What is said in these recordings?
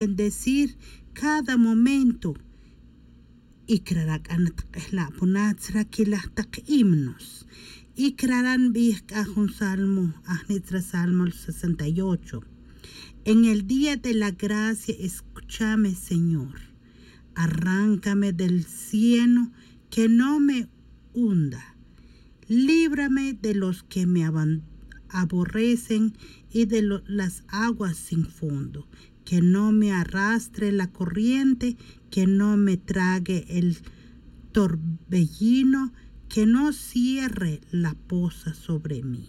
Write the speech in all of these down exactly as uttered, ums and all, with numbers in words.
bendecir cada momento. Y crara' c'a natk'ejla' puna tzra quilaj tak himnos. Y crara' nbij c'a jun salmo ajni' tzra salmo sesenta y ocho. En el día de la gracia escúchame, Señor. Arráncame del cieno que no me hunda. Líbrame de los que me aborrecen y de las aguas sin fondo. Que no me arrastre la corriente, que no me trague el torbellino, que no cierre la poza sobre mí.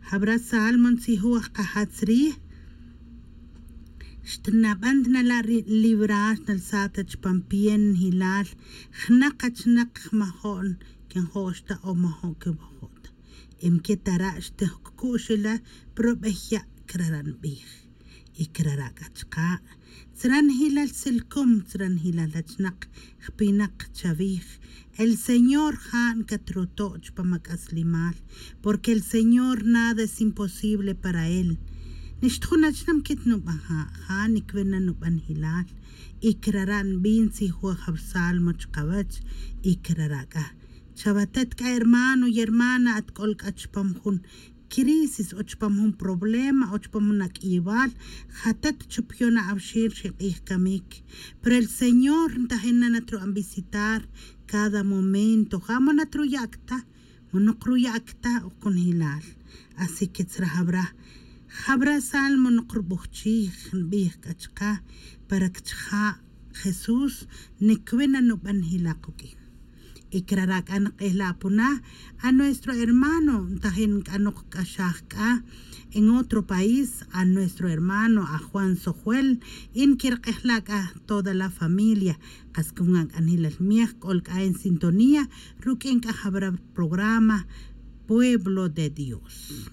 Jabra' salmo ntzijuj aj kajatz rij. Xtnaban tnala' ri librar xnalsat ta chpan pie njilal. Jnaq achnak jmajo'n que njo' xta o majo' que wajo' ta. Em que tara' xtej ccu'xela' probey ya' crara' nbij. Y crara' c'a chka' tzra njilal silcom tzra njilal achnak jpinak chavij. El señor ja' ncatroto' chpa mac'aslimal. Porque el señor nada es imposible para él. Nixta jun achnak quitnuban ja' ja' nicwina nuban njilal. Y crara' nbin tzijuj jabsalmo chkawech. Y crara' c'a chawatet c'a hermano y hermana at c'ol c'a chpam jun crisis o chpam jun problema o chpam jun ac'iyibal. Jatet chupyon awxin ri k'ij camic. Pero el señor ntajin na natru'an visitar cada momento ja' mo natruya' cta. Mo nokruya' cta o conjelal. Así que tzra jabra jabra salmo nokrubujchij nbij c'a chka para cchja' jesús. Nicwina nuban jila' kuq'uin. Y crara' c'a nk'ejla' puna a nuestro hermano ntajin c'a nokc'axaj c'a en otro país a nuestro hermano a juan sojuel. Y nquirk'ejla' c'a toda la familia. Kas cungan c'a njilal miej c'ol c'a en sintonía ruq'uin c'a jabra programa pueblo de dios.